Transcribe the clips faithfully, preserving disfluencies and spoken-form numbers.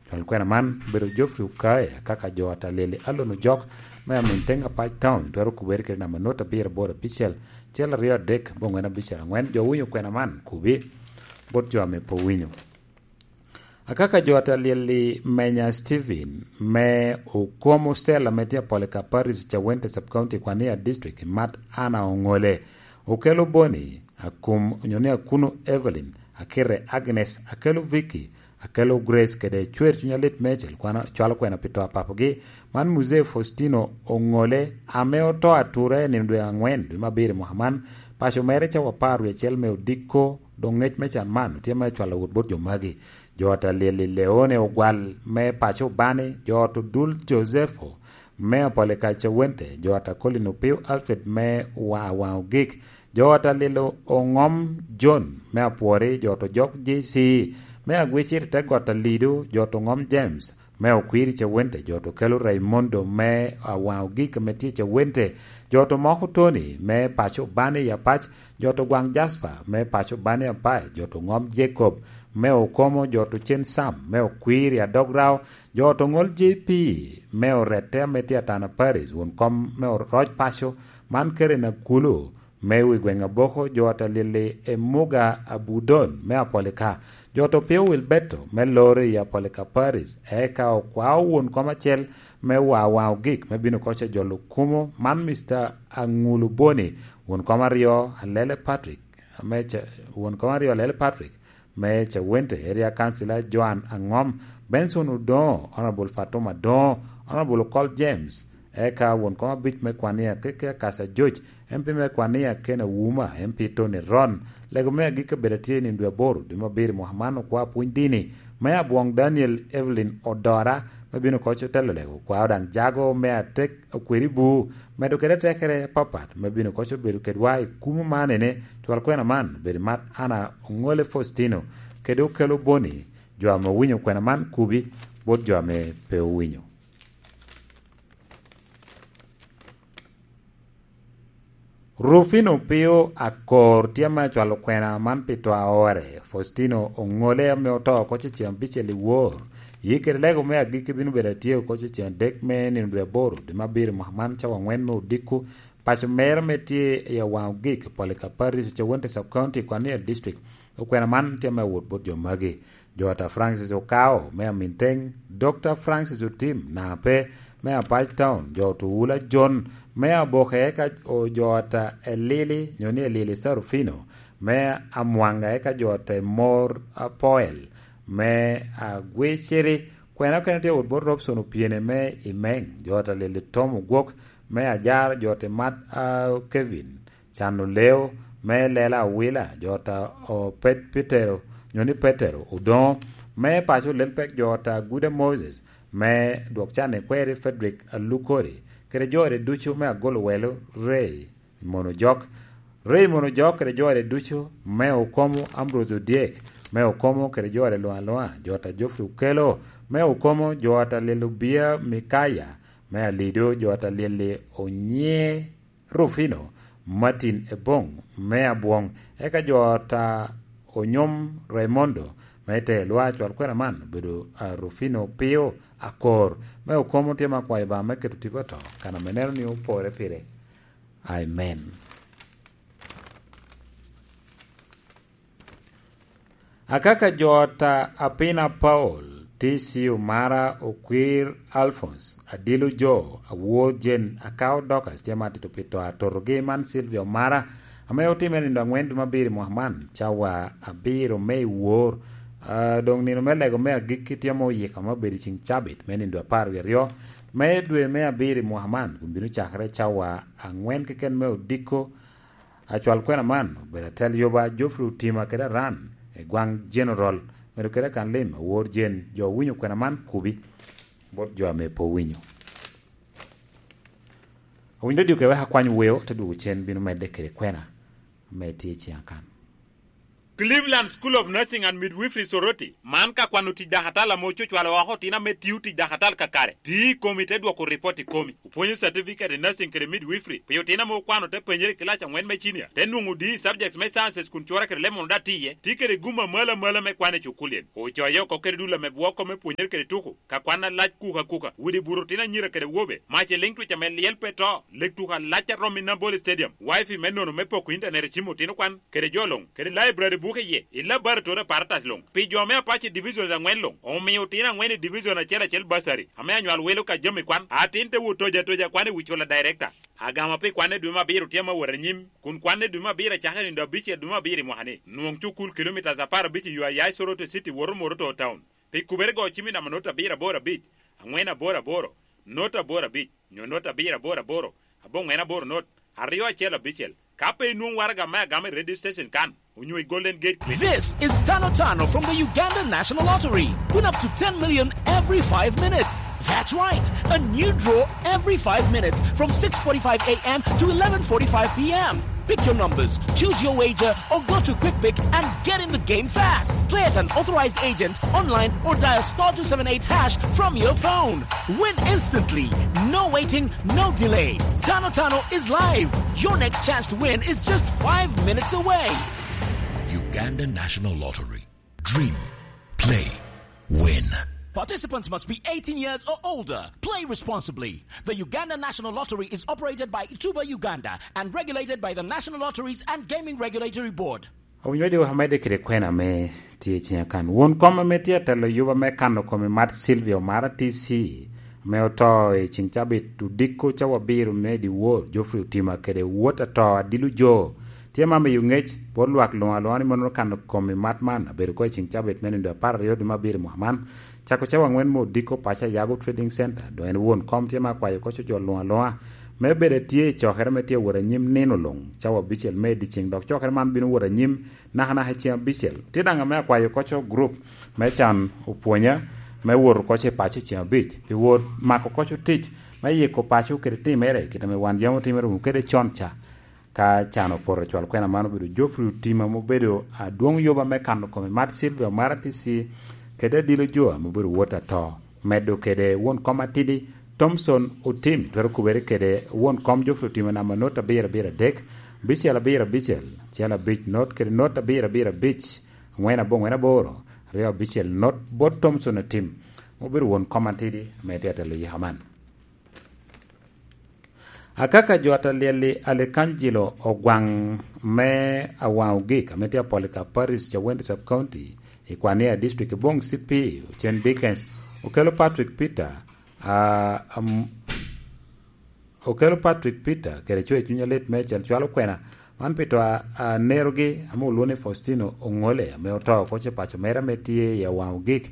Cwal kwena man obedo Geoffrey Okae, akaka jo ata lyel i Alon Ojok me Aminteng Apac Town, twero kubere kede namba not abiro aboro abicel, acel aryo adek, abongwen abicel angwen. Jo owinyo kwena man, kubi bot jo ame pe owinyo. Akaka jo ata lyel i Menya Steven me Okomo Cell ame tye Apolika Parish, Cawente Sub County, Kwania District, i mat Anna Oŋole, Okelo Boni, Akum, onyo ni Akuno Evelyn, Akite Agnes, Akelo Vicky, Akelo Grace kede Cwer Cuny Alit Mecel, kwano, cwalo kwena pi to a papogi. Man Muzee Faustino Oŋole, ame oto atura i nino dwe aŋwen, dwe me abiro i mwaka man, paco mere cawa apar wie acel me odiko, dok ngec me can man tye me cwalo wot bot jo magi. Jo ata lyel i Leone Ogwal me paco Obani, jo ot Odul Josepho me Apolika Cawente, jo ata Colin Opio Alfred me Wa-, Awaŋ Ogik, jo ata lyel Oŋom John me Apwori, jo ot Ojok J C me Agwicir i te got Alido, jo ot Oŋom James me Okwiri Cawente, jo ot Okelo Raimondo me Awaŋ Ogik ame tye Cawente, jo ot Omoko Tony me paco Obani i Apac, jo ot Ogwaŋ Jasper me paco Obani i Apac, jo ot Oŋom Jacob me Okomo, jo ot Ocen Sam me Okwiri Adograo, jo ot Oŋol J P me Orette ame tye Atana Parish, won kom me Oroc Paco, man Karen Akulu me wi gweŋ Aboko, jo ot Alili Emuga Abudon me Apolika, jo ot Opio Wilberto me Loro i Apolika Parish, eka okwao won kom acel me Wawaŋ Ogik me bino koc a jolo kumo, man Mister Aŋulu Boni, won kom aryo Alele Patrick, me Ca-, won kom aryo Alele Patrick me Cawente, Area Councilor Joan Aŋom, Benson Odoŋo, Honorable Fatuma Adoŋo, Honorable Okol James, eka won kom abic me Kwania, Keke Akasa George, M P me Kwania, Ken Awuma, M P Tony Ron. Lego me agikki obedo atye i nino dwe aboro, dwe me abiro, mwaka man, okwa pwony dini me Abwoŋ Daniel Evelyn Odora, me bino koc otelo lego, okwao daŋ jago me atek okweri bu, medo kede tekere apapat, me bino koc obedo kedwa i kumo man ene, cwal kwena man obedo mat Anna Oŋole Faustino, kede Okelo Boni, jo ame owinyo kwena man kubi, bot jo ame pe owinyo. Rufino Pio Akor tye ame acwalo kwena man pi to aore. Faustino Oŋole ame oto oko cecen abicel i wor, yie kede lego me agikki bino bedo atye oko cecen adek me nino dwe aboro, dwe me abiro mwaka man, cawa aŋwen me odiko, paco mere me tye i Awaŋ Ogik, Polika Parish, Cawente Sub County, Kwania District. Okwena man tye ame awot bot jo magi. Jo ata Francis Okao me Aminteng, Doctor Francis Otim Nape me Apac Town, jo ot Owula John me Aboke, eka o-, jo ata Elili, nyo ni Elili Sarufino me Amwanga, eka jo ata Emor Apoel me Agwiciri. Kwena okene tye wot bot Robson Opiene me Imeng, jo ata Lili Tom Ogwok me Ajar, jo ata Mat, a, Kevin Cano Leo me Lela Awila, jo ata o Pet-, Petero, nyo ni Petero Odoŋo, me paco Lelpek, jo ata Guda Moses, me Dwok Can Ikweri Frederick Alukori, kede jore ducu me Agolo Welo, Ray Mono Jok, Ray Mono Jok kede jore ducu, me Okomo Ambrose Odyek, me Okomo kede jore luŋ aluŋa, jo ata Geoffrey Okelo, me Okomo, jo ata Lelo Bia Mikaya, me Alido, jo ata Lili Onye, Rufino, Martin Ebong me Abwong, eka jo ata Onyom Raimondo me Telwa. Cwal kwena man obedo, a, Rufino Pio Akor me Okomo tye me akwayo ba me keto tipo to, kan ame neno ni opore pire. Amen. Akaka jo ata Apina Paul, T C Omara, Okwir Alphonse, Adilo Jo, Awor Jen, Akao Dorcas tye ma atito pi to atotogi, man Sylvia Omara, ame otime nindo aŋwen dwe me abiro i mwaka man, cawa abiro me i wor. Ah, doŋ nino me lego me agikki tye ame oyiko ame obedo i ceŋ cabit me nindo apar wie aryo me dwe me abiro i mwaka man, kun bino cakere cawa aŋwen keken me odiko. Acwal kwena man obedo atel yuba Geoffrey Otima kede Aran, i gwaŋ General, medo kede akan lim Awor Jen. Jo owinyo kwena man kubi bot jo ame pe owinyo. Owinyo dyo kede wek akwany weo, te dwogo cen bino medde kede kwena ame tye i ciŋ akan. Cleveland School of Nursing and Midwifery Soroti, man ka kwano tic dakatal ame ococwalo oko otino ame tio tic dakatal kakare, tio i komi te dwoko ripot i komi. Opwonyo certificate i nursing kede midwifery pi otino ame okwano te penyere i kilac angwen me cinia, te nwoŋo D E subjects me sciences kun cura kede leb mono daŋ tye iye, tye kede gum amalo amalo me kwan i cukulien. Ocoyo oko kede dul ame bwoko me pwonyere kede tuko, ka kwan alac kuka kuka, udi buto otino anyira kede wobe, mac eliŋ twic ame lyel pe to, leg tuko alac a romo i Nambole Stadium, wifi me nono me poko intanet i cim otino kwan, kede jo luŋ, kede library buke iye, i laboratory apparatus luŋ. Pi jo me Apache Divisions angwen luŋ, omio otino angwen i division acel acel bursary, ame anywal wilo ka jami kwan, atin te wot toja toja kwan i wi cula director. Agama pi kwan i dwe me abiro tye ame wot anyim, kun kwan i dwe me abiro acakere i nino abicel dwe me abiro i mwaka-ni. Nwoŋ cukul kilomitas apar abic i yo a ya i Soroti City woto Moroto Town. Pi kubere go cim i namba not abiro aboro abic, angwen aboro aboro, not aboro abic, nyo not abiro aboro aboro, aboŋwen aboro not, aryo acel abicel. Ka pe inwoŋo waraga me agama i radio station kan, onyo i Golden Gate Clinic. This is Tano Tano from the Uganda National Lottery. Win up to ten million every five minutes. That's right, a new draw every five minutes from six forty-five a m to eleven forty-five p m. Pick your numbers, choose your wager, or go to Quick Pick and get in the game fast. Play at an authorized agent, online, or dial star two seven eight hash from your phone. Win instantly. No waiting, no delay. Tano Tano is live. Your next chance to win is just five minutes away. Uganda National Lottery. Dream, play, win. Participants must be eighteen years or older. Play responsibly. The Uganda National Lottery is operated by Tuba Uganda and regulated by the National Lotteries and Gaming Regulatory Board. Owinyo di amedde kede kwena ame tye i ciŋa kan. Won kom ame tye atelo yuba me kano kome mat Silvio Mara T C, ame oto i ciŋ cabit odiko cawa abiro me dyewor, Geoffrey Otima kede wot ato Adilo Jo, tye ma miyo ŋec bot lwak luŋ aluŋa ni mono kano kome mat man abedo ko i ciŋ cabit me nindo apar aryo dwe me abiro i mwaka man, cako cawa angwen me odiko paco Ayago Trading Center, dong en won kom tye ma akwayo koco jo luŋ aluŋa me bedo atye i cokere me tye awot anyim nino luŋ, cawa abicel me i dyeceŋ, dok cokere man bino wot anyim nakanaka i ceŋ abicel. Tye daŋ ame akwayo koco gurup me can opwonya me wot koco i paco i ceŋ abic, pi wot mako koco tic me yiko paco kede timere, kit ame wan yam otimere wunu kede con ca. Ka can opoto, cwal kwena man obedo Geoffrey Otima, ame obedo adwoŋ yoba me kano kome mat Silvia Mara T C, kede Adilo Jo, ame obedo wot ato. Medo kede won kom atidi, Thomson Otim, twero kubere kede won kom Geoffrey Otima namba not abiro abiro adek, bicel abiro abicel, cel abic not kede not abiro abiro abic, angwen aboŋwen aboro, aryo abicel not bot Thomson Otim, ame obedo won kom atidi, ame tye atelo yika man. Akaka jo a ta lyel-li, Alekanjilo Ogwaŋ me Awaŋ Ogik, ame tye Apolika Parish, Cawende Sub County, i Kwania District, i Boŋ C P, Ocen Dickens, okelo Patrick Peter, a, am, okelo Patrick Peter kede cwer cuny alit meicel cwalo kwena man pi to a, a nerogi, ame olwoŋo ni Faustino Oŋole, ame oto oko ce paco mere ame tye i Awaŋ Ogik.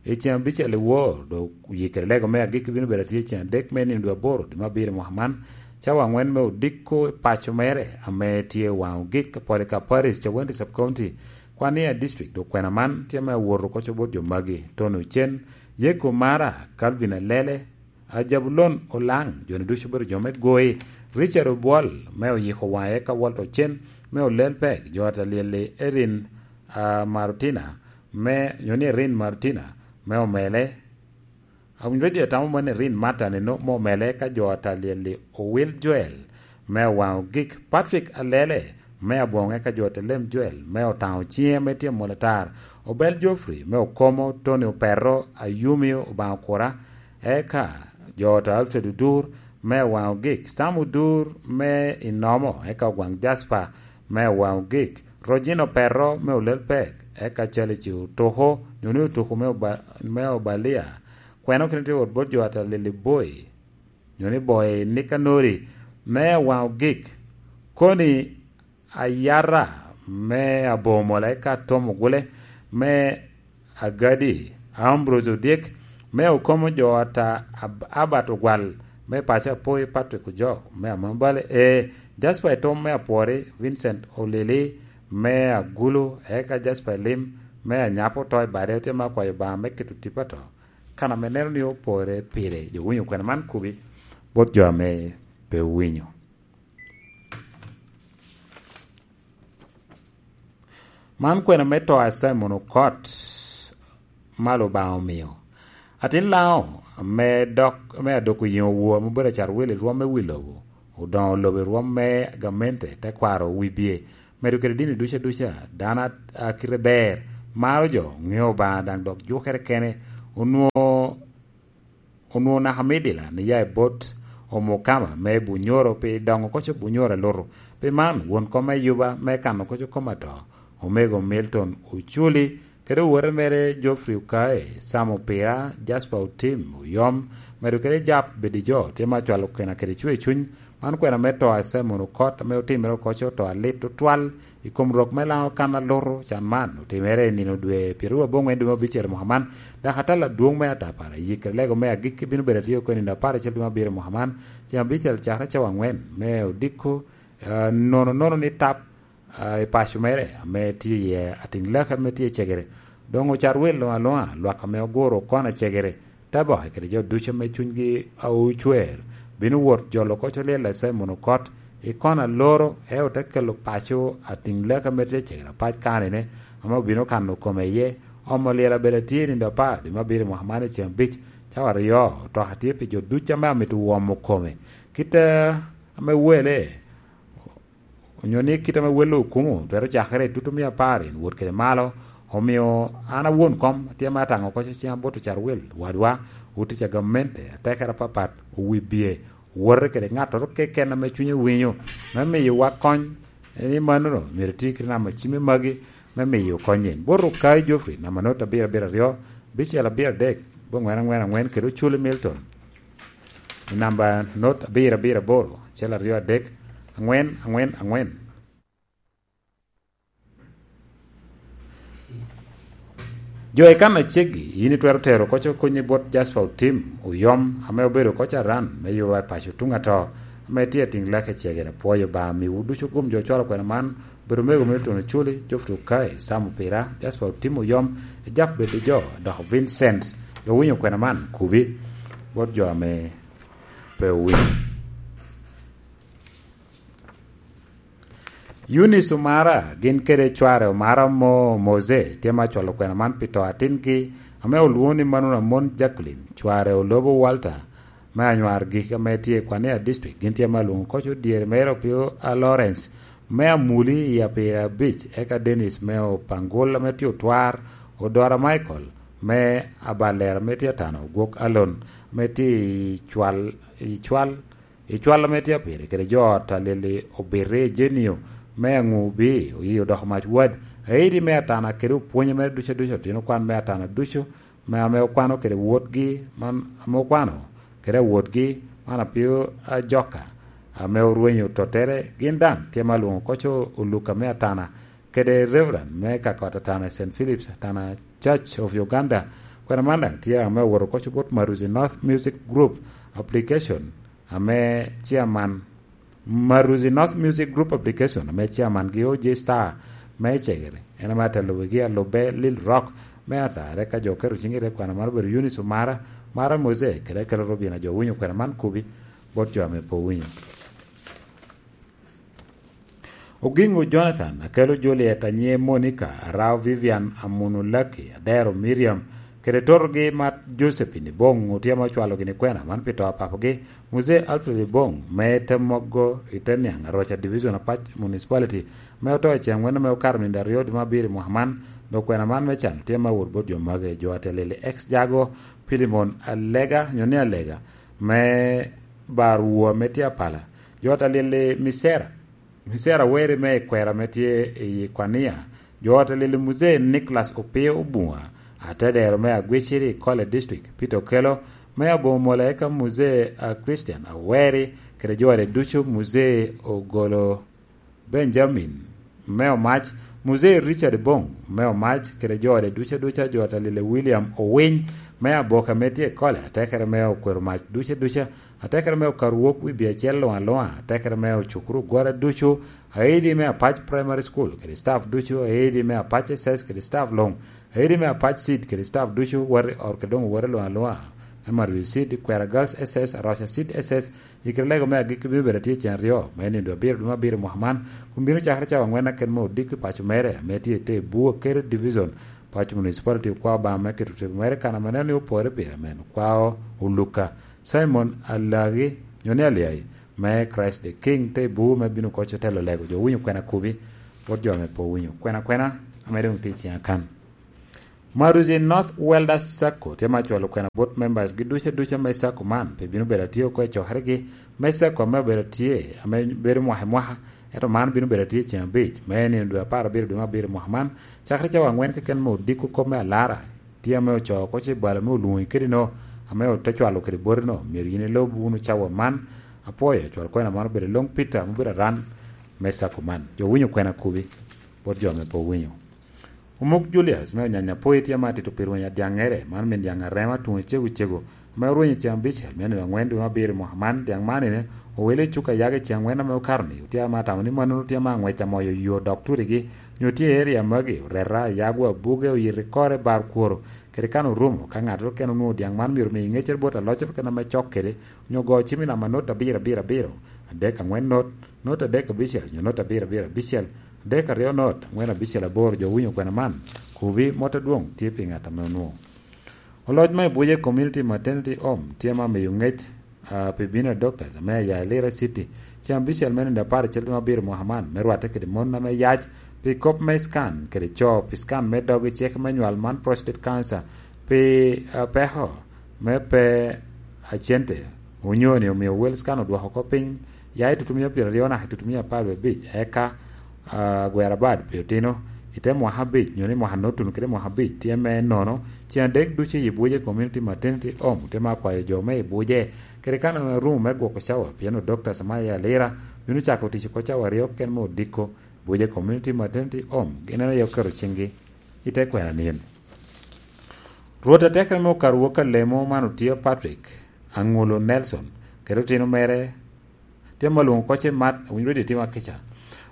I ceŋ abicel i wor, dok oye kede lego me agikki bino bedo atye ceŋ adek me nino dwe aboro dwe me abiro i mwaka man, cawa angwen me odiko i paco mere ame tye i Waŋ Ogik, Apolika Parish, Cawende Sub County, Kwania District. Dok kwena man tye me awot oko co bot jo magi: Tony Ocen, Yeko Mara, Calvin Alele, a Jabulon Olaŋ, jo-ni ducu obedo jo me Goi, Richard Obwol me Oyiko Waŋe, eka Walter Ocen me Olel Pek, jo a ta lyel-li, Erin, a, Marutina, me, nyo ni Erin Marutina, me Omele. Awinyo radio tamo man Erin Martin eno me Omele, eka jo a ta lyel-li, Owil Joel me Awaŋ Ogik, Patrick Alele me Aboŋe, eka jo a ta lem Joel me Otaŋo Ciŋe ame tye Molatar, Obel Geoffrey me Okomo, Tony Opero, Ayumi Obaŋ Okura, eka jo a ta Alfred Odur me Awaŋ Ogik, Sam Odur me Inomo, eka Ogwaŋ Jasper me Awaŋ Ogik, Rojino Opero me Olel Pek, eka Calici Otoko, nyo ni Otoko me Oba-, me Obalia. Kwena okene tye wot bot jo a ta lyel-li, Boi, nyo ni Boi Nikanori me Awaŋ Ogik, Koni Ayara me Abomola, eka Tom Ogule me Agadi, Ambrose Odyek me Okomo, jo a ta Ab-, Albert Ogwal me paco Apoi, Patrick Ojok me Amambale, e Jasper Etom me Apwori, Vincent Olili me Agulu, eka Jasper Elim me Anyapo oto i bade, otye me akwayo Obaŋa me keto tipo ato kan ame neno ni opore pire. Jo winyo kwena man kubi bot jo ame pe owinyo. Man kwena me to a Simon Okot ma Lubanga omio. Atin Laŋo ame dok, ame adoko yiŋo woo ame obedo acarwil i rwom me wi lobo, odoŋo lobo i rwom me gamente, tekwaro, wibye, medo kede dini duca duca, dano a, a kite ber, maro jo, ŋeo Obaŋa daŋ dok jukere kene, onwoŋo onwoŋo naka midila ni ya i bot omukama me Bunyoro pi doŋo koco Bunyoro alutu. Pi man, won kom me yuba me kano koco kom ato, Omego Milton Oculi, kede owote mere Geoffrey Okae, Sam Opira, Jasper Otim Oyom, medo kede Jap Bedijo, tye ma cwalo kena kede cwer cuny. Man kwena me to a Simon Okot ame otimere okoco to alit tutwal i kom rok me Laŋo kan alutu can man, otimere i nino dwe pyeraryo aboŋwen dwe me abicel mwaka man, dok atal adwoŋ me atapara, yik lego me agikki bino bedo atye oko i nino apar acel dwe me abiro mwaka man, ceŋ abicel cakere cawa angwen me odiko, ah, nono nono ni tap, ah, i paco mere ame tye iye atiŋ laki ame tye i cegere. Doŋ ocarwil luŋ aluŋa, lwak ame oguro kono i cegere, te boke kede jo ducu ame cunygi a ocwer, bino wot jolo koc olyel a Simon Okot i kono aloro, eo te kelo paco atiŋ laki ame tye cegere apac kanine, ame obino kano kome iye. Omo olyel abedo atye i nino apar dwe me abiro mwaka man i ceŋ abic, cawa aryo, otoka tye pi jo ducu ame amito womo kome. Kit, eh, ame wele, onyo ni kit ame wel okumo twero cakere i tutu mia apar in wot kede malo. Omio an awon kom atye ame ataŋo koc ciŋa bot ocarwil wadwa, otic a gamente, atekere apapat, owibye, owote kede ŋattoro keken ame cunye winyo, me miyowa kony. Ni mannono myero iti kede namba cim me magi me miyo kony in. Bot Okayi Geoffrey, namba not abiro abiro aryo, bicel abiro adek, bongwen angwen angwen, kede Oculi Milton. I namba not abiro abiro aboro, acel aryo adek, angwen angwen angwen. Jo i kan aceggi, yin itwero tero koc okonyi bot Jasper Otim Oyom, ame obedo koc aran me yuba i paco tuŋ ato, ame tye atiŋ lake cegere. Pwoyo Obaŋa miwu ducu gum jo cwalo kwena man, bedo mego me Tony Oculi, Geoffrey Okayi, Sam Opira, Jasper Otim Oyom, Ejap Bedo Jo, dok Vincent. Jo winyo kwena man, kubi bot jo ame pe owinyo. Eunice Omara, gin kede cware Omara mo Mose, tye ma cwalo kwena man pi to atingi, ame olwoŋo ni Manuna Mon Jacqueline, cware Olobo Walter, me Anywar Gik ame tye i Kwania District, gin tye ma lwoŋo koc odyere mere Opio a Lawrence, me Amuli i Apira Beach, eka Dennis me Opangol ame tye Otwar, Odora Michael, me Abalera ame tye Atano, Gwok Alon, me tye i Cwal, i Cwal, i Cwal ame tye Apiri, kede jo ot a Lili Obirri Jenio, me Aŋubi, oyi odoko mac wad, aidi me Atana kede opwonye mere ducu aducu, otino kwan me Atana ducu, me ame okwano kede wotgi, man ame okwano kede awotgi, man Apio Ajoka, ame orwenyo tottere, gin daŋ tye ma lwoŋo koc Oluka me Atana, kede Reverend me ka kot Atana Saint Philip's, Atana Church of Uganda. Kwena man daŋ tye ame owoto koc bot Maruzi North Music Group Application, ame chairman, Maruzi North Music Group Application, ame chairman gi O J Star me Cegere. En ame atelo wigi alubbe Lil Rock me Atare, ka jo oketo ciŋgi i te kwena man obedo Eunice Omara, Mara Mose, kede Kelo Robina. Jo winyo kwena man kubi bot jo ame pe owinyo. Ogingo Jonathan, Akelo Juliet, Anyie Monica, Arao Vivian, Amuno Lucky, Adero Miriam, kede totogi mat Josephine Ibong, otye ame ocwalo gini kwena man pi to a papogi, Muzee Alfred Ibong, me te mogo i te niaŋ, Aroca Division Apac Municipality, me oto i ceŋ wene me okato nino aryo dwe me abiro i mwaka man, dok kwena man me can tye ma wot bot jo mage, jo atelili ex Jago, Pilimon Alega, nyo ni Alega, me bar wua me tye apala, jo atelili Misera, Mizera Weri me i kwera ame tye i Kwania, jo ot a Lili Muzee Nicholas Opio Obunga, atedero me Agwiciri i Kole District, Peter Okello, me aboŋo mola eka Muzee, ah, Christian Aweri, kede jo ode ducu, Muzee Ogolo Benjamin me Omac, Muzee Richard Bong me Omac, kede jo ode ducu aduca, jo ot a Lili William Owiny me Aboka ame tye i Kole, atekere me Okwero Mac ducu aduca, atekere me Okarwok wi bye acel luŋ aluŋa, atekere me ocukuru ogwara ducu, aidi me Apac Primary School kede staff ducu, aidi me Apac S S kede staff luŋ, aidi me Apac Seed kede staff ducu, wati ot kede doŋ wati luŋ aluŋa. Maruzi Seed, Kwera Girls S S, Aroca Seed S S, i kite lego me agikki bino bedo atye cen aryo, me nindo abiro dwe me abiro mwaka man, kun bino cakere cawa angwen aken me odiko i paco mere, ame tye i te Bua Kere Division, paco municipality okwao Obama me keto tebo mere kan ame neno ni opore pire men, okwao Oluka Simon Alagi, nyo ni Aliai, me Christ the King, te Bua me bino koco telo lego jo winyo kwena kubi, bot jo ame pe owinyo. Kwena kwena, ame dong tye i cen akan. Maruzi North Welder Sacco tye ma cwalo kwena bot members gi duca duca me sacco man, pe bino bedo atye oko i cokeregi me sacco ame obedo tye, ame bedo mwaka i mwaka, ento man bino bedo atye cen abic, me nino dwe apar abiro dwe me abiro mwaka man, cakere cawa angwen keken me odiko kop me alara, tye ame ocoo oko ce balo me olwoŋi kede no, ame ote cwalo kede boti no, myero yin ilob wunu cawa man, apwoyo, cwal kwena man obedo Long Peter, ame obedo aran me sacco man. Jo winyo kwena kubi, bot jo ame pe owinyo. Omuk Julius me Onyanya Poi tye ma atito pi rweny adyaŋŋere, man min dyaŋ arema tuŋ ecego cego, ame orwenyo i cen abicel me nino angwen dwe me abiro i mwaka man. Dyaŋ man ene owele i cuk ayage i cen angwen ame okato-ni, otye ma atamo ni mannono tye ma aŋwec amoyo yo dok turigi, nyo tye i eria magi, oreta, ayagwa, buge, oyito i kore, bar kworo, kede kan orumo, ka ŋattoro keken onwoŋo dyaŋ man myero omi ŋeccere bot aloco keken ame cok kede, nyo go cim i namba not abiro abiro abiro, adek angwen not, not adek abicel, nyo not abiro abiro abicel, adek aryo not, angwen abicel aboro. Jo winyo kwena man, kubi mot adwoŋ tye pi ŋat ame onwoŋo. Oloc me Buje Community Maternity Home tye ma miyo ŋec, ah, pi bino a doctors ame aya i Lira City, cen abicel me nino apar acel dwe me abiro mwaka man, me rwatte kede mon ame yac pi kop me scan kede co pi scan me dog i cik me nywal man prostate cancer, pi, ah, peko me pe acente, onyo ni omio Wales kan odwoko oko piny ya i tutumia pyeraryo naka i tutumia apar wie abic, eka, ah, agwera bad pi otino i te mwaka abic, nyo ni mwaka notunu kede mwaka abic, tye me nono, cen adek ducu i Buje Community Maternity Home, tye ma akwayo jo me i Buje, kede kan ame rumo me gwoko cawa, pien odokta sama i Alira bino cako tic oko cawa aryo keken me odiko, Buje Community Maternity Home, gin en aye oketo ciŋgi i te kwena nino. Rwot atekere me okato wok alemo man otio Patrick Aŋulo Nelson, kede otino mere, tye ma olwoŋo koce mat, winyo redio tye ma kica.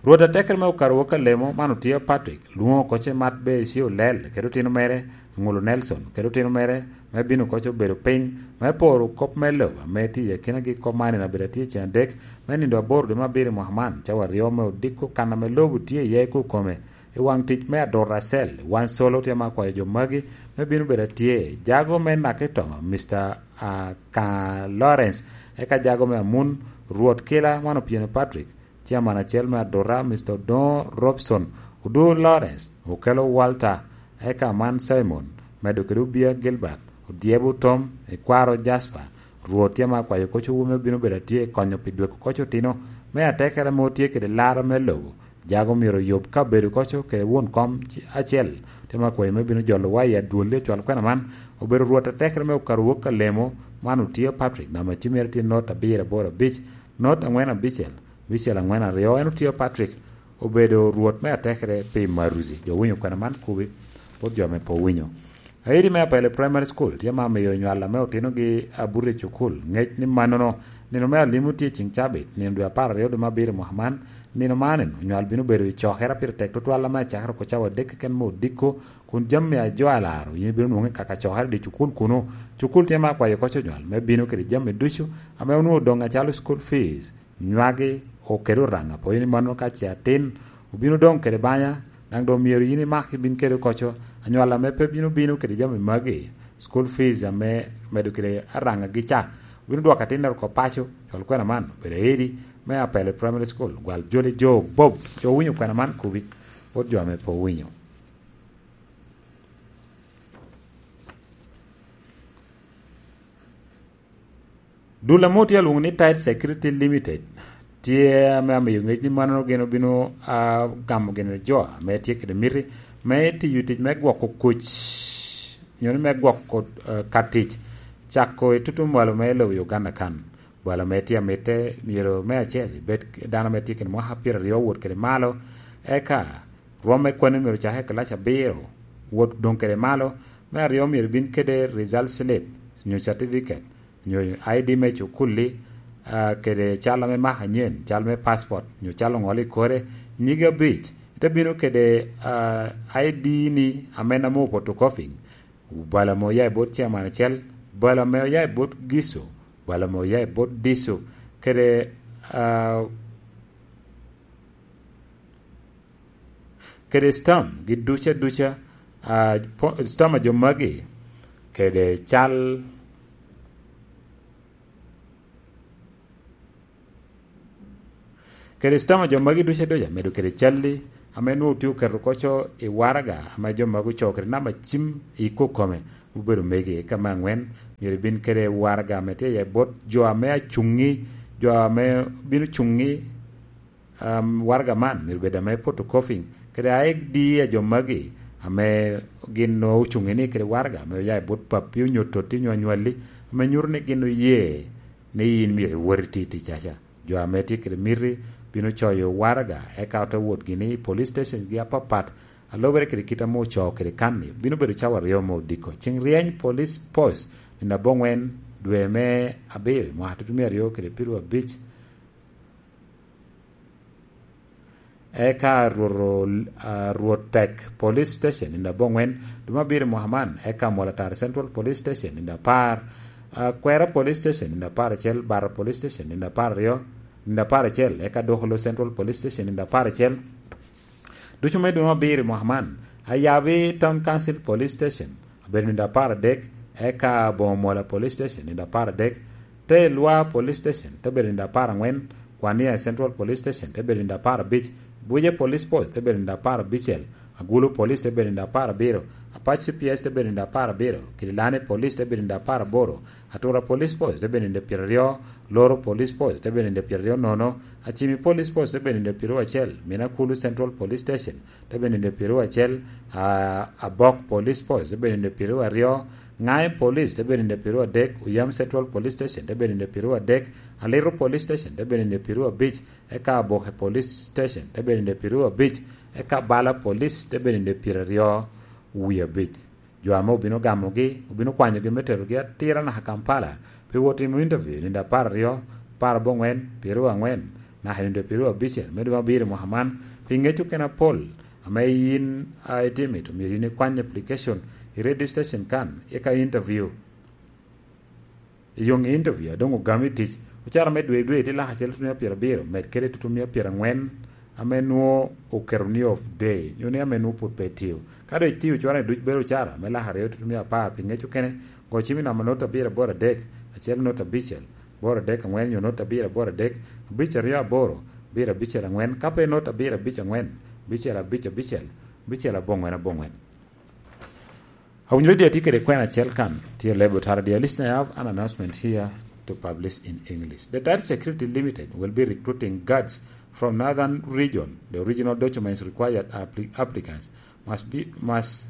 Rwot atekere me okato wok alemo man otio Patrick, lwoŋo koce mat be isi olel, kede otino mere, Aŋulo Nelson, kede otino mere, me bino koce obedo piny, me poro kop me lobo, ame tye i akinagi kop man en abedo atye cen adek, me nindo aboro dwe me abiro i mwaka man, cawa aryo me odiko kan ame lobo tye iye kukome, i waŋ tic me adura acel, wan solo tye ma akwayo jo magi me bino bedo atye. Jago me Nakitoma, Mister Aka Lawrence, eka jago me Amun, Rwot Kila, man Opieno Patrick, Chairman acel me adura, Mister Odongo Robson, Odur Lawrence, Okelo Walter, eka man Simon, medo kede Obia Gilbert, Odyebo Tom, Ikwaro Jasper, Rwot tye ma akwayo koc owu me bino bedo atye konyo pi dweko koc otino me atekere ame otye kede laro me lobo, jago myero oyub kabedo koco kede won kom ci-, acel, tye ma akwayo me bino jolo wa i adwolli acwal kwena man, obedo Rwot atekere me okato wok alemo man otio Patrick, namba cim mere tye not abiro aboro abic, not angwen abicel, abicel angwen aryo, en otio Patrick, obedo Rwot me atekere pi Maruzi. Jo winyo kwena man kubi, bot jo ame pe owinyo. Aidi me Apele Primary School tye ma miyo onywal ame otinogi abuto i cukul ŋec ni mannono, nino me alimo tye ciŋ cabit, nino dwe apar aryo dwe me abiro mwaka man, nino man onywal bino bedo i cokere pire tek tutwal ame acakere oko cawa adek keken me odiko, kun jami a jo alaro yin ibino nwoŋo i kaka cokere di cukul kuno. Cukul tye ma akwayo koc onywal me bino kede jami ducu ame onwoŋo doŋ acalo school fees, nywagi, okelo Oraŋa, pwod ni mano ka ce atin obino doŋ kede banya, daŋ doŋ myero yin imak ibin kede koco. Anywal ame pe bino bino kede jami magi, school fees ame medo kede Araŋa gi ca, obino dwoko atinnere oko paco, cwal kwena man, obedo aidi me Apele Primary School, gwal joli jo Bob, jo owinyo kwena man kubi, bot jo ame pe owinyo. Dul ame otye alwoŋo ni Tide Security Limited tye ame amiyo ŋec ni mannono gin obino, ah, gamo gin jo ame tye kede miti me tiyo tic me gwoko kuc, nyo ni me gwoko, eh, ka tic, cako i tutumwalo me lobo Uganda kan. Bwalo ame tye amitte myero me acel ibed dano ame tye kede mwaka pyeraryo wot kede malo, eka rwom me kwanni myero ocak i kilaci abiro wot doŋ kede malo. Me aryo myero ibin kede result slip nyo certificate nyo I D me cukulli, ah, kede cal ame maka anyen, cal me passport nyo cal oŋolo i kore, nyigi abic. Ite bino kede, ah, I D ni ame namo photocopying, balo ame oya i bot chairman acel, balo ame oya i bot Gico, balo ame oya i bot Dico, kede, ah, kede stam gi duca duca, ah, po-, stam a jo magi, kede cal, kede stam a jo magi duca duca, medo kede calli ame nwoŋo tye oketo koco i waraga ame jo magi ocoo kede namba cim i kokome, obedo megi. Ka me aŋwen, myero ibin kede waraga ame tye i bot jo ame acuŋŋi, jo ame bino cuŋŋi, um, waraga man myero bed ame photocopying, kede I D a jo magi ame gin nwoŋo ocuŋŋi ni kede waraga ame oya i bot pappi onyo totti onyo anywalli, ame nyuto ni gin oye ni yin myero iwot iti ticcaca. Jo ame tye kede miti bino coyo waraga, eka ote wot gini i police stations gi apapat, a lubere kede kit ame ocoo kede kan-ni. Bino bedo cawa aryo me odiko. Ceŋ ryeny police post, nino aboŋwen dwe me abiro, mwaka tutumia aryo kede piru abic, eka Rwot, ah, Rwot Tek Police Station, nino aboŋwen dwe me abiro mwaka man, eka Mwol Atari Central Police Station, nino apar, ah, Kwera Police Station, nino apar acel, Bara Police Station, nino apar aryo, nino apar acel, eka Dokolo Central Police Station, nino apar acel. Ducu me dwe me abiro mwaka man, Ayabi Town Council Police Station, abedo nino apar adek, eka Boŋo Mola Police Station, nino apar adek, te Lwa Police Station, te bedo nino apar aŋwen, Kwania Central Police Station, te bedo nino apar abic, Buje Police Post, te bedo nino apar abicel, Agulu Police, te bedo nino apar abiro, Apac C P S, te bedo nino apar abiro, Kidilani Police, te bedo nino apar aboro, Atura Police Post, te bedo nino pyeraryo, Loro Police Post, te bedo nino pyeraryo nono, Acimi Police Post, te bedo nino pyeraryo acel, Minakulu Central Police Station, te bedo nino pyeraryo acel, a, Abok Police Post, te bedo nino pyeraryo aryo, Ŋae Police, te bedo nino pyeraryo adek, Oyam Central Police Station, te bedo nino pyeraryo adek, Aliro Police Station, te bedo nino pyeraryo abic, eka Aboke Police Station, te bedo nino pyeraryo abic, eka Bala Police, te bedo nino pyeraryo wie abic. Jo ame obino gamogi, obino kwanyogi me terogi atira naka Kampala, pi wot timo interview, nino apar aryo, apar aboŋwen, pyeraryo aŋwen, naka nino pyeraryo abicel, me dwe me abiro mwaka man, pi ŋec okene apol, ame yin a itimo it, omyero yin ikwany application i radio station kan, eka interview. I yoŋ interview, a doŋ ogami i tic, ocara me dwe i dwe, tye lak acel tutumia pyerabiro, med kede tutumia pyeraŋwen, ame nwoŋo oketo ni off day, nyo ni ame nwoŋo pwod pe tio. Ka doŋ itio ocara-ni duc, bedo ocara me lak aryo tutumia apar, pi ŋec okene, go cim i namba not abiro aboro adek, acel not abicel, aboro adek aŋwen, nyo not abiro aboro adek, abic aryo aboro, abiro abicel aŋwen, ka pe not abiro abic aŋwen, abicel abic abicel, abicel aboŋwen aboŋwen. Awinyo radio atye kede kwena acel kan, tye lebo tara, dear listener, I have an announcement here to publish in English. The Tide Security Limited will be recruiting guards from Northern Region. The original documents required appli-, applicants must be, must,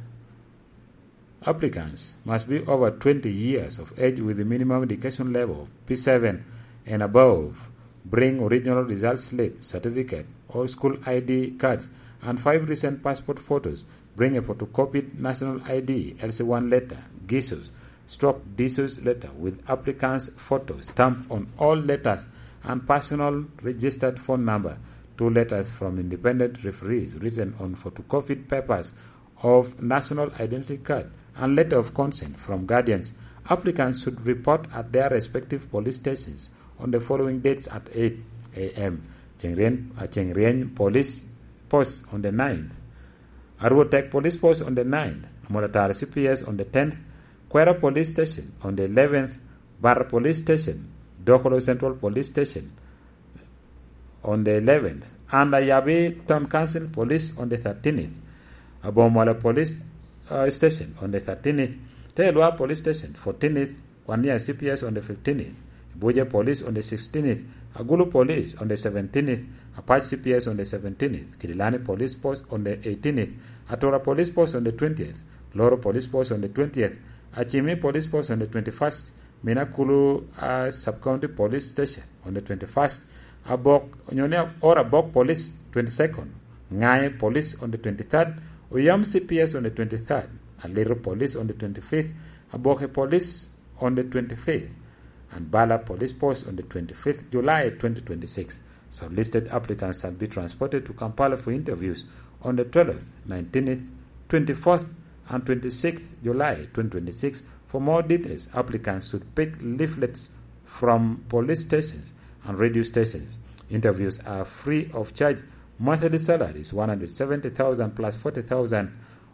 applicants must be over twenty years of age with a minimum education level of P seven and above. Bring original result slip, certificate, or school I D cards, and five recent passport photos. Bring a photocopied national I D, L C one letter, Gisos, stroke Disos letter with applicant's photo stamped on all letters and personal registered phone number, two letters from independent referees written on photocopied papers of national identity card, and letter of consent from guardians. Applicants should report at their respective police stations on the following dates at eight A M. Ceŋ ryeny, uh, Ceŋ Ryeny Police Post on the ninth. Arwo Tek Police Post on the ninth. Amolo Tara C P S on the tenth. Kwera Police Station on the eleventh. Barra Police Station. Dokolo Central Police Station on the eleventh, and Ayabi Town Council Police on the thirteenth, Abomwala Police, uh, Station on the thirteenth, Telwa Police Station fourteenth, Kwania C P S on the fifteenth, Buja Police on the sixteenth, Agulu Police on the seventeenth, Apac C P S on the seventeenth, Kidilani Police Post on the eighteenth, Atura Police Post on the twentieth, Loro Police Post on the twentieth, Achimi Police Post on the twenty-first, Minakulu, uh, Sub-County Police Station on the twenty-first, Abok, onyo ni Ora Bok Police twenty-second, Ŋae Police on the twenty-third, Oyam C P S on the twenty-third, Aliro Police on the twenty-fifth, Aboke Police on the twenty-fifth, and Bala Police Post on the twenty-fifth July twenty twenty-six. Shortlisted applicants shall be transported to Kampala for interviews on the twelfth, nineteenth, twenty-fourth, and twenty-sixth July twenty twenty-six For more details, applicants should pick leaflets from police stations and radio stations. Interviews are free of charge. Monthly salaries, one hundred seventy thousand plus forty thousand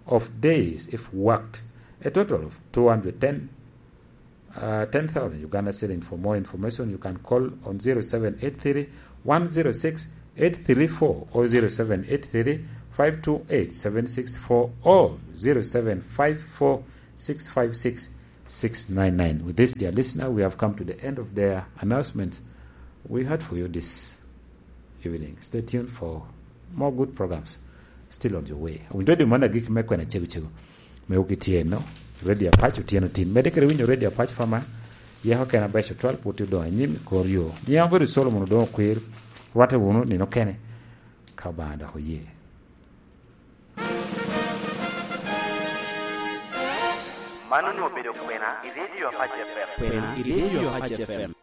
of days if worked. A total of two hundred ten, uh, ten thousand Uganda shilling. For more information, you can call on zero seven eight three, one zero six, eight three four or zero seven eight three, five two eight, seven six four or zero seven five four, six five six, six nine nine. With this, dear listener, we have come to the end of the announcements we had for you this evening. Stay tuned for more good programs still on your way. Awinyo redio man agik me kwena cego cego. Me wuki tye no, redio Apac otyeno tin. Mede kede winyo redio Apac fama, yako kena beco twal put odong anyim i kor yo. Nyiŋ bedo Solomon odong okwir, rwate wunu nino kene, ka Obaŋa dok oye. Man onwoŋo obedo kwena i redio Apac F M. Kwena i redio Apac F M.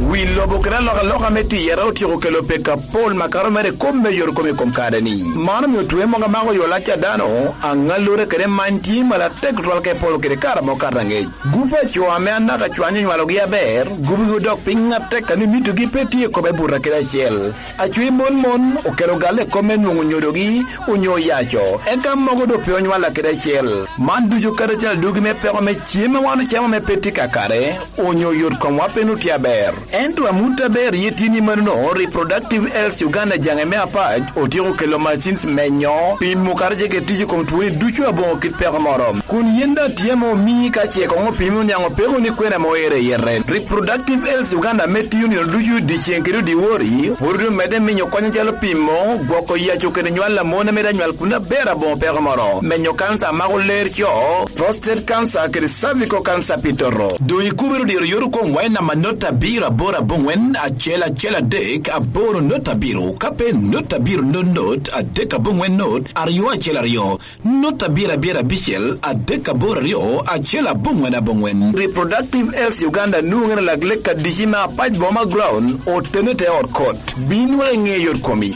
Wi lobo kede alokaloka me tiyere otyeko kelo pek apol makato mere i kop me yot kom i kom kare-ni. Man omio twe mogo amako yo lac a dano, aŋallure kede many tye malatek tutwal ka epolo kede kare amo kato aŋec. Gup a co ame anaka cwany onywalogi aber, gubigi odok piny atek a ni mitogi pe tye i kome buto kede acel. Acwe mon mon okelo galle i kop me nwoŋo nyodogi onyo oyaco, eka mogo doŋ pe onywalla kede acel. Man ducu kadi acel adugi me peko me cem a wan ocamo ame pe tye kakare, onyo yot komwa pe nwoŋo tye aber. Ento amut aber ye tye ni manono, Reproductive Health Uganda jaŋe me Apac otyeko kelo machines menyo, pimo kadi ce kede tic i kom twoni ducu aboŋo kit peko moro. Kun yen daŋ tye ame omii ka ce koŋ opimi oniaŋ opeko ni kwena ame oero i yete. Reproductive Health Uganda ame tiyo nino ducu dyeceŋ kede dyewor, pwod omedde miyo kony acalo pimo, gwoko yaco kede nywal a mon ame daŋ nywal kun aber aboŋo peko moro, menyo kanca a mako ler co, prostate cancer kede cervical cancer pi toto. Doŋ ikubere diro yot okoŋ wa i namba not abiro aboro aboŋwen acel acel adek aboro not abiro, ka pe not abiro not not adek aboŋwen not aryo acel aryo. Not abiro abiro abicel adek aboro aryo acel aboŋwen aboŋwen. Reproductive Health Uganda nwoŋere lak lek adici me Apac Boma Ground, otene te ot kot. Bin wek iŋe yot komi.